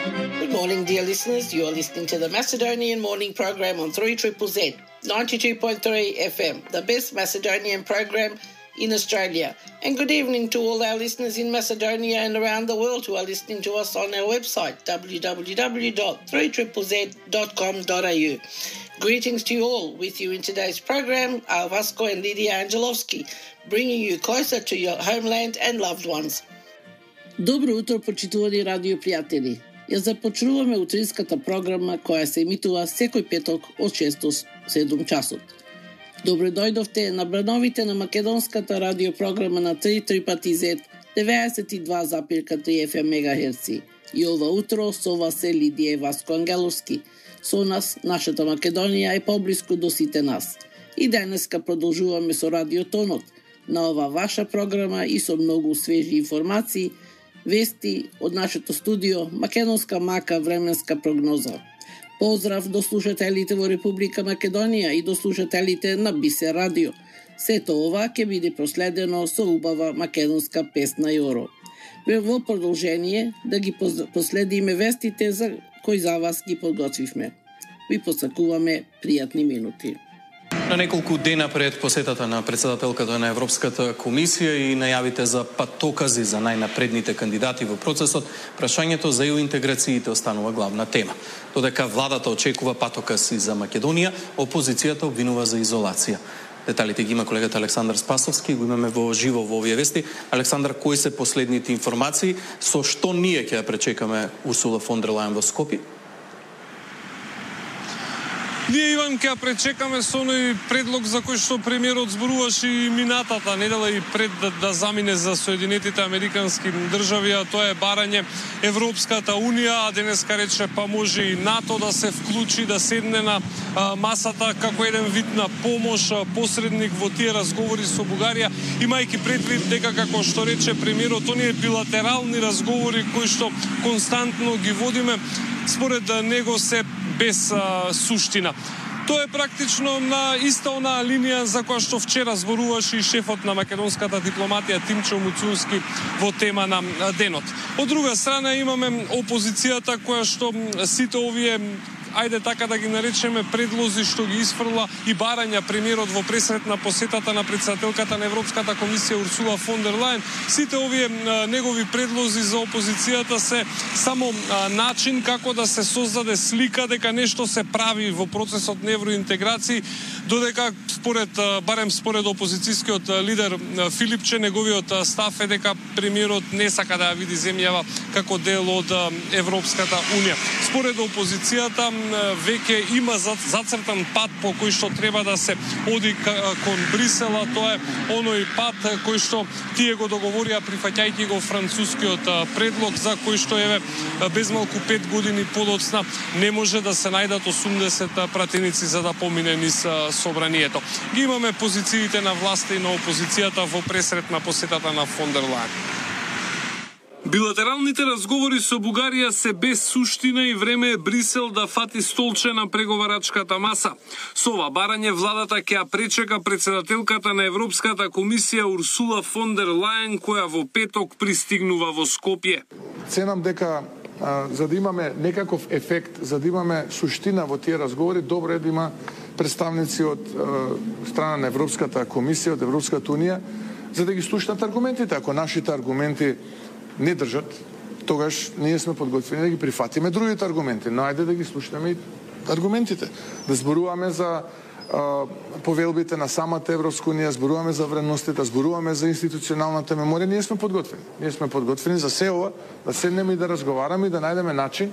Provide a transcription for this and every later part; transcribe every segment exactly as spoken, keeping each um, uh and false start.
Good morning, dear listeners. You are listening to the Macedonian Morning Program on three Z Z Z, ninety-two point three F M, the best Macedonian program in Australia. And good evening to all our listeners in Macedonia and around the world who are listening to us on our website, w w w dot three z z z dot com dot a u. Greetings to you all. With you in today's program are Vasco and Lydia Angelovski, bringing you closer to your homeland and loved ones. Добро утро, почитувани радио пријатели. Ја започнуваме утринската програма која се емитува секој петок од шест до седум часот. Добро дојдовте на брановите на македонската радиопрограма на три пати зет, деветдесет и два запирка три Еф Ем мегахерци. И ова утро со вас е Лидија и Васко Ангеловски. Со нас, нашата Македонија е поблиску до сите нас. И денеска продолжуваме со радиотонот на ова ваша програма и со многу свежи информации, вести од нашето студио, македонска мака временска прогноза. Поздрав до слушателите во Република Македонија и до слушателите на Бисер радио. Сето ова ќе биде проследено со убава македонска песна Јоро. Во продолжение да ги последиме вестите за кои за вас ги подготвивме. Ви посакуваме пријатни минути. На неколку дена пред посетата на председателката на Европската комисија и најавите за патокази за најнапредните кандидати во процесот, прашањето за ЕУ интеграциите останува главна тема. Додека владата очекува патоказ и за Македонија, опозицијата обвинува за изолација. Деталите ги има колегата Александар Спасовски, го имаме во живо во овие вести. Александар, кои се последните информации, со што ние ќе ја пречекаме Урсула фон дер Лајен во Скопје? Ние, Иван, ќе пречекаме со оној предлог за кој што премиерот зборуваше и минатата недела и пред да, да замине за Соединетите Американски држави, а тоа е барање Европската Унија, а денеска рече па може и НАТО да се вклучи, да седне на а, масата како еден вид на помош, а, посредник во тие разговори со Бугарија, имајќи предвид дека, како што рече премиерот, оние билатерални разговори кои што константно ги водиме, според него се без а, суштина. Тоа е практично на иста онаа линија за која што вчера зборуваше и шефот на македонската дипломатија Тимчо Муцунски во тема на денот. Од друга страна имаме опозицијата која што сите овие, ајде така да ги наречеме, предлози што ги исфрла и барања премиерот во пресрет на посетата на председателката на Европската комисија Урсула фон дер Лајен, сите овие а, негови предлози за опозицијата се само а, начин како да се создаде слика дека нешто се прави во процесот на евроинтеграција, додека според а, барем според опозицијскиот лидер а, Филипче, неговиот а, став е дека премиерот не сака да ја види земјава како дел од а, Европската Унија. Според опозицијата веќе има зацртан пат по кој што треба да се оди кон Брисела. Тоа е оној пат кој што тие го договорија прифаќајќи го францускиот предлог, за кој што еве безмалку пет години подоцна не може да се најдат осумдесет пратеници за да помине низ собранието. Ги имаме позициите на власта и на опозицијата во пресрет на посетата на фон дер Лајен. Билатералните разговори со Бугарија се без суштина и време е Брисел да фати столче на преговарачката маса. Со ова барање владата ќе ја пречека председателката на Европската комисија Урсула фон дер Лајен, која во петок пристигнува во Скопје. Ценам дека а, за да имаме некаков ефект, за да имаме суштина во тие разговори, добро е да има представници од а, страна на Европската комисија, од Европската Унија, за да ги слушнат аргументите. Ако нашите аргументи не држат, тогаш ние сме подготвени да ги прифатиме другите аргументи. Но ајде да ги слушнеме и аргументите. Да зборуваме за а, повелбите на самата Европска Унија, зборуваме за вредностите, зборуваме за институционалната меморија. Ние сме подготвени. Ние сме подготвени за се ова, да седнеме и да разговараме и да најдеме начин,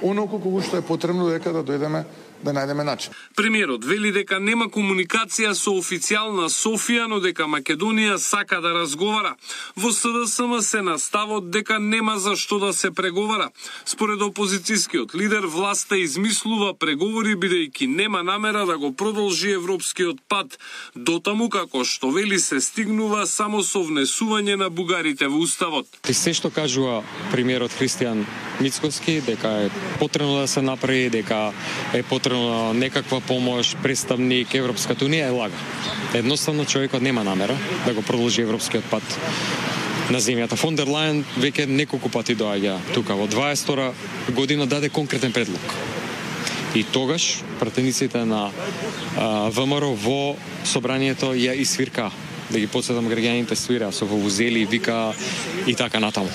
оноку кога што е потребно дека да дојдеме да најдеме начин. Премиерот вели дека нема комуникација со официјална Софија, но дека Македонија сака да разговара. Во С Д С М се наставот дека нема за што да се преговара. Според опозицијскиот лидер, власта измислува преговори бидејќи нема намера да го продолжи европскиот пат, дотаму како што вели се стигнува само со внесување на бугарите во уставот. И се што кажува премиерот Христијан Мицкоски, дека е потребно да се направи, дека е потребно некаква помош, представник Европската Унија, е лага. Едноставно човекот нема намера да го продолжи европскиот пат. на земјата. Фон дер Лајен веќе неколку пати доаѓа тука. Во дваесет втора година даде конкретен предлог. И тогаш пратениците на а, ВМРО во собранието ја исвирка. Да ги подсетам, граѓаните свира со вувузели, вика и така натаму.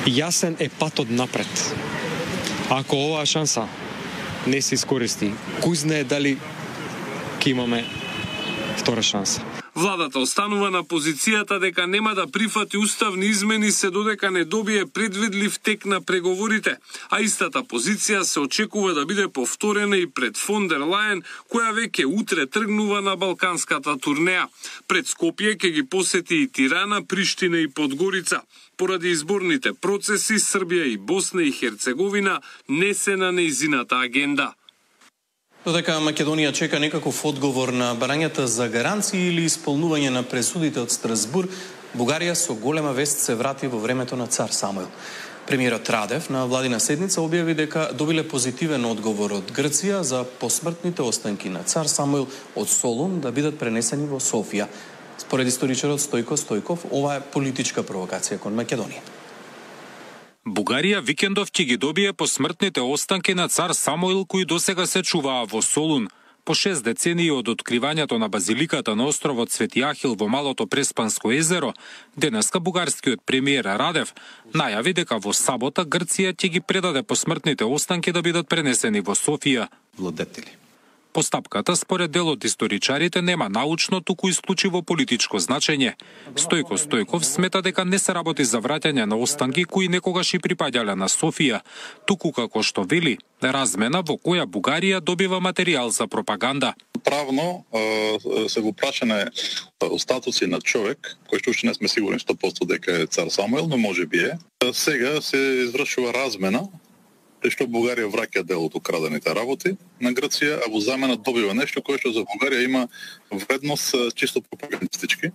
Јасен е патот напред. Ако оваа шанса не се искористи, кој знае дали ќе имаме втора шанса. Владата останува на позицијата дека нема да прифати уставни измени се додека не добие предвидлив тек на преговорите, а истата позиција се очекува да биде повторена и пред фон дер Лајен, која веќе утре тргнува на балканската турнеја. Пред Скопје ќе ги посети и Тирана, Приштина и Подгорица. Поради изборните процеси, Србија и Босна и Херцеговина не се на нејзината агенда. Додека Македонија чека некаков одговор на барањата за гаранции или исполнување на пресудите од Страсбур, Бугарија со голема вест се врати во времето на цар Самуил. Премиерот Радев на владина седница објави дека добиле позитивен одговор од Грција за посмртните останки на цар Самуил од Солун да бидат пренесени во Софија. Според историчарот Стојко Стојков, ова е политичка провокација кон Македонија. Бугарија викендов ќе ги добие посмртните останки на цар Самуил, кои досега се чуваа во Солун. По шест децении од откривањето на базиликата на островот Свети Ахил во Малото Преспанско езеро, денеска бугарскиот премиер Радев најави дека во сабота Грција ќе ги предаде посмртните останки да бидат пренесени во Софија. Владетели. Постапката, според дел од историчарите, нема научно, туку исклучиво политичко значење. Стојко Стојков смета дека не се работи за враќање на останки кои некогаш и припаѓале на Софија, туку како што вели, размена во која Бугарија добива материјал за пропаганда. Правно се го прашане остатоци на човек, кој што уште не сме сигурни сто проценти дека е цар Самуил, но може би е. Сега се извршува размена, што Бугарија враќа дел од украдените работи на Грција, а во замена добива нешто кое што за Бугарија има вредност чисто пропагандистички,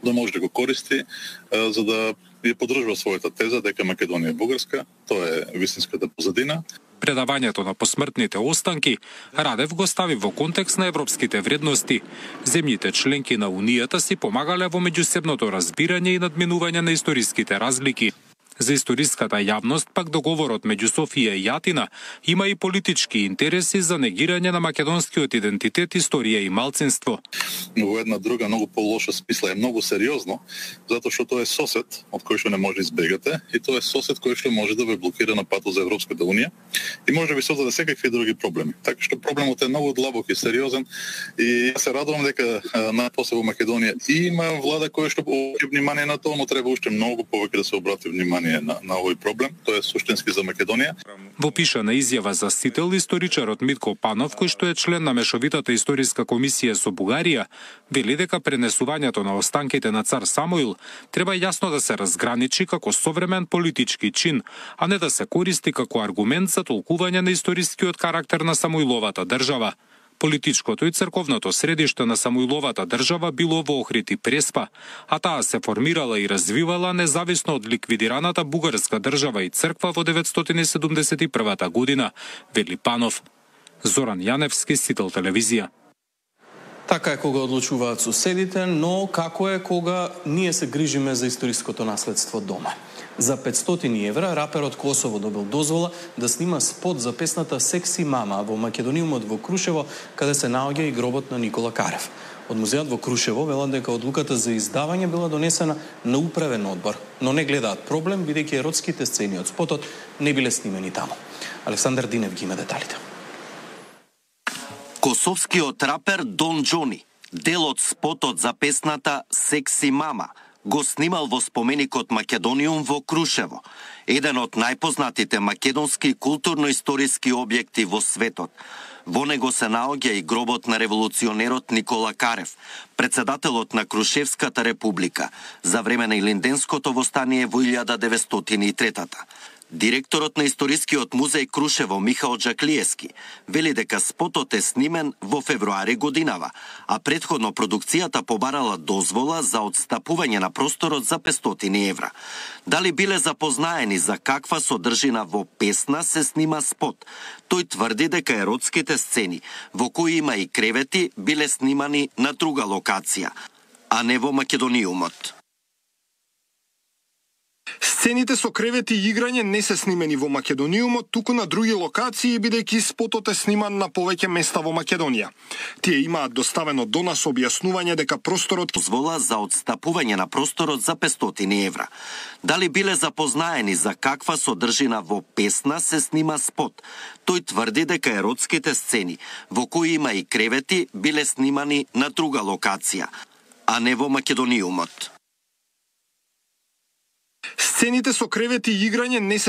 да може да го користи за да ја поддржува својата теза дека Македонија е бугарска, тоа е вистинската позадина. Предавањето на посмртните останки Радев го стави во контекст на европските вредности. Земјите членки на Унијата си помагале во меѓусебното разбирање и надминување на историските разлики. За историската јавност пак договорот меѓу Софија и Атина има и политички интереси за негирање на македонскиот идентитет, историја и малцинство. Во една друга многу полоша смисла е многу сериозно, затоа што тоа е сосед од кој што не може да избегате и тоа е сосед кој што може да ве блокира на патот за Европската унија и може да ви создаде секакви други проблеми. Така што проблемот е многу длабок и сериозен и се радувам дека најпосле во Македонија има влада која што обрати внимание на тоа, но треба уште многу повеќе да се обрати внимание На, на овој проблем, тоа е суштински за Македонија. Во пишана изјава за Сител, историчарот Митко Панов, кој што е член на Мешовитата историска комисија со Бугарија, вели дека пренесувањето на останките на цар Самуил треба јасно да се разграничи како современ политички чин, а не да се користи како аргумент за толкување на историскиот карактер на Самуиловата држава. Политичкото и црковното средиште на Самуиловата држава било во Охрид и Преспа, а таа се формирала и развивала независно од ликвидираната бугарска држава и црква во деветстотини седумдесет и првата година, вели Панов. Зоран Јаневски, Сител телевизија. Така е кога одлучуваат соседите, но како е кога ние се грижиме за историското наследство дома. За петстотини евра раперот Косово добил дозвола да снима спот за песната Секси мама во Македониумот во Крушево, каде се наоѓа и гробот на Никола Карев. Од музеот во Крушево велат дека одлуката за издавање била донесена на управен одбор, но не гледаат проблем бидејќи еротските сцени од спотот не биле снимени таму. Александар Динев ги има деталите. Косовскиот рапер Дон Џони, дел од спотот за песната Секси мама, го снимал во споменикот Македониум во Крушево, еден од најпознатите македонски културно-историски објекти во светот. Во него се наоѓа и гробот на револуционерот Никола Карев, председателот на Крушевската република, за време на Илинденското востание во илјада деветстотини и трета. Директорот на Историскиот музеј Крушево Михаил Джаклиевски вели дека спотот е снимен во февруари годинава, а претходно продукцијата побарала дозвола за одстапување на просторот за петстотини евра. Дали биле запознаени за каква содржина во песна се снима спот? Тој тврди дека еротските сцени, во кои има и кревети, биле снимани на друга локација. а не во Македониумот. Сцените со кревети и играње не се снимени во Македониумот, туку на други локации, бидејќи спотот е сниман на повеќе места во Македонија. Тие имаат доставено до нас објаснување дека просторот дозвола за одстапување на просторот за петстотини евра. Дали биле запознаени за каква содржина во песна се снима спот? Тој тврди дека еротските сцени, во кои има и кревети, биле снимани на друга локација, а не во Македониумот. Сцените со кревети и играње не се